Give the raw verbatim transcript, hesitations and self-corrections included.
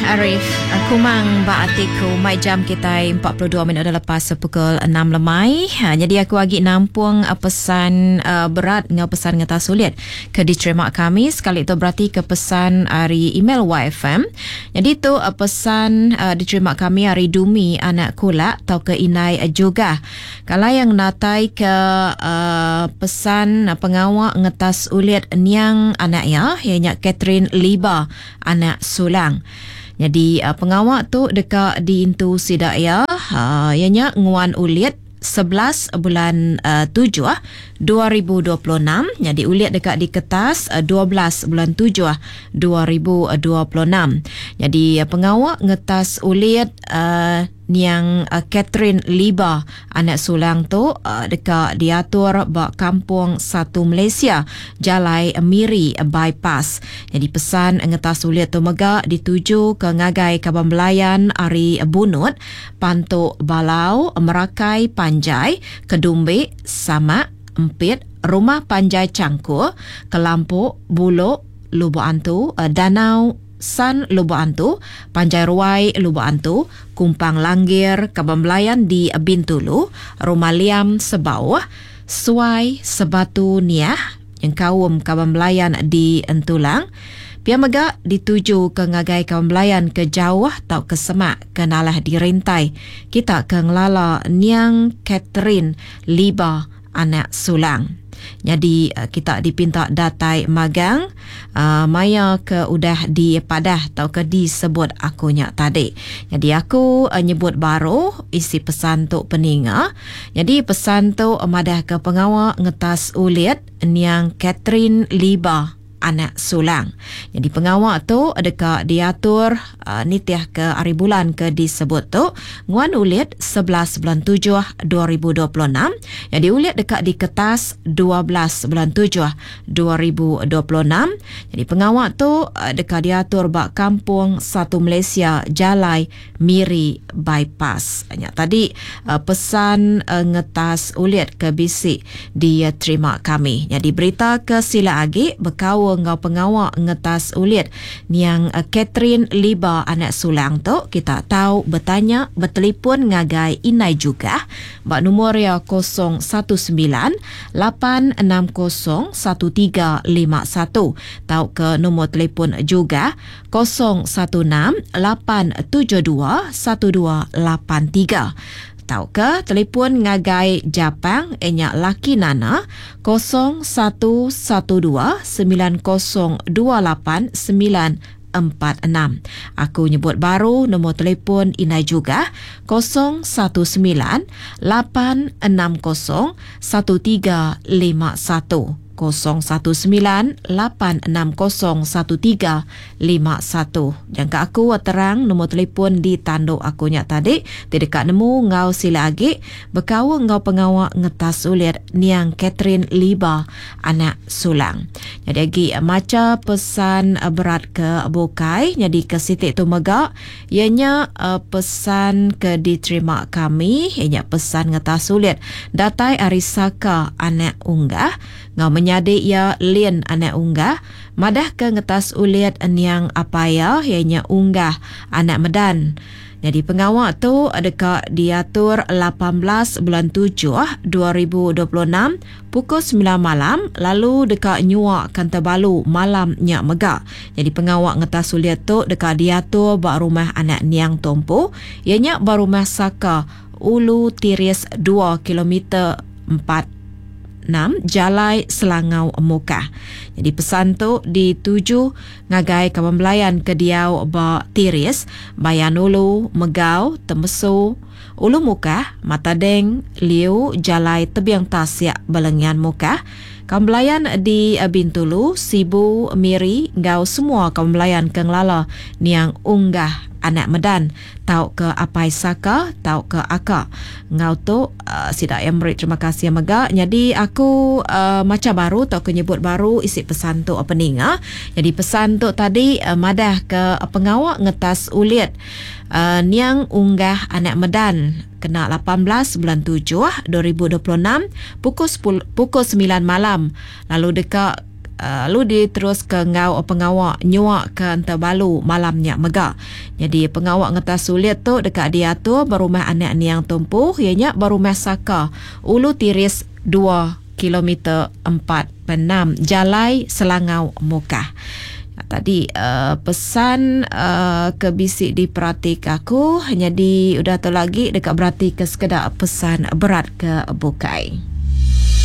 Arif Kumang ba atiku. Mai jam kitai empat puluh dua minit dah lepas pukul enam lemai. Ha, jadi aku agi nampung pesan uh, berat ngau pesan ngeta sulit ke diterima kami sekali tu berarti ke pesan ari email Y F M. Jadi tu uh, pesan uh, diterima kami ari Dumi anak kulak tau ke Inai juga. Kalau yang natai ke uh, pesan uh, pengawak ngetas ulit niang anak ya, ianya Catherine Liba anak Sulang. Jadi uh, pengawak tu dekat diintu sidak ya, uh, ianya nguan ulit sebelas bulan uh, tujuh dua ribu dua puluh enam. Jadi ulit dekat di kertas uh, dua belas bulan tujuh dua ribu dua puluh enam. Jadi uh, pengawak ngetas ulit uh, niang uh, Catherine Liba anak Sulang tu uh, dekat diatur ba Kampung Satu Malaysia Jalai Miri Bypass. Jadi pesan ngetas ulit tu mega dituju ke ngagai Kaban Belayan ari Bunut, Pantuk Balau, Merakai Panjai, Kedumbik, Samak, Empit, Rumah Panjai Cangkur, Kelampuk, Bulok, Lubuk Antu, Danau San Lubuk Antu, Panjai Ruai Lubuk Antu, Kumpang Langgir, Kaban Belayan di Bintulu, Rumah Liam Sebauh, Suai Sebatu Niah, yang kaum Kaban Belayan di Entulang. Pia mega dituju ke ngagai Kaban Belayan ke jauh atau ke semak ke nalah dirintai. Kita ke ngelala niang Catherine Liba anak Sulang. Jadi kita dipinta datai magang uh, maya ke udah dipadah atau ke disebut akunya tadi. Jadi aku uh, nyebut baru isi pesan tu peninga. Jadi pesan tu madah ke pengawak ngetas ulit niang Catherine Liba anak Sulang. Jadi pengawak tu dekat diatur uh, nitiah ke hari bulan ke disebut tu nguan ulit sebelas bulan tujuh dua ribu dua puluh enam. Jadi ulit dekat di kertas dua belas bulan tujuh dua ribu dua puluh enam. Jadi pengawak tu uh, dekat diatur bak Kampung Satu Malaysia Jalai Miri Bypass. Nya tadi uh, pesan uh, ngetas ulit ke bisik diterima kami. Jadi berita ke sila agi bekau ngau pengawak ngetas ulit niang Catherine Liba anak Sulang tu kita tahu bertanya bertelefon ngagai Inai juga bak nombor ya kosong satu sembilan lapan enam kosong satu tiga lima satu tau ke nombor telefon juga kosong satu enam lapan tujuh dua satu dua lapan tiga. Tau ke telefon ngagai Japang enyak laki Nana kosong satu satu dua sembilan kosong dua lapan sembilan empat enam. Aku nyebut baru nombor telefon Inai juga kosong satu sembilan lapan enam kosong satu tiga lima satu. Kosong satu sembilan lapan enam kosong satu tiga lima satu. Jangka aku terang nombor telefon di tanduk aku nyak tadi. Tidak nemu ngau sila agi bekau ngau pengawak ngetas ulit niang Catherine Liba anak Sulang. Jadi agi maca pesan berat ke bukai. Jadi ke sitik tu mega ianya pesan ke diterima kami ianya pesan ngetas ulit datai ari Saka anak Unggah ngau menyadik ia Lin anak Unggah madah ke ngetas ulit niang apaya ianya Unggah anak Medan. Jadi pengawak tu dekat diatur lapan belas bulan tujuh dua ribu dua puluh enam pukul sembilan malam lalu dekat nyuak Kantabalu malam nyak megak. Jadi pengawak ngetas ulit tu dekat diatur bak rumah anak niang Tompo ianya bak rumah Saka Ulu Tiris dua kilometer empat enam Jalai Selangau Mukah. Jadi pesan tu dituju ngagai kawan belayan ke diau ba Tiris, Bayan Ulu, Megau, Temesu, Ulu Mukah, Matadeng, Liu, Jalai Tebiang Tasiak, Belengian Mukah. Kawan belayan di Bintulu, Sibu, Miri, ngau semua kawan belayan ke ngelala niang Unggah anak Medan tau ke Apai Saka tau ke Akak. Ngau tu uh, sidak yang beri terima kasih mega. Jadi aku uh, maca baru tau ke nyebut baru isi pesan tu apa ninga. Jadi pesan tu tadi uh, madah ke uh, pengawak ngetas ulit uh, niang Unggah anak Medan kena lapan belas bulan tujuh dua ribu dua puluh enam pukul sepuluh, pukul sembilan malam lalu dekat Lalu diterus ke ngau pengawa nyua ke entebalu malam nya mega. Jadi pengawa ngetas ulit tu dekat diatur berumah anak niang tumpu ianya berumah Saka Ulu Tiris dua kilometer empat enam Jalai Selangau Mukah. Tadi uh, pesan uh, ke bisi diperhati ke aku, jadi udah tu lagi dekat berarti ke sekedar pesan berat ke bukai.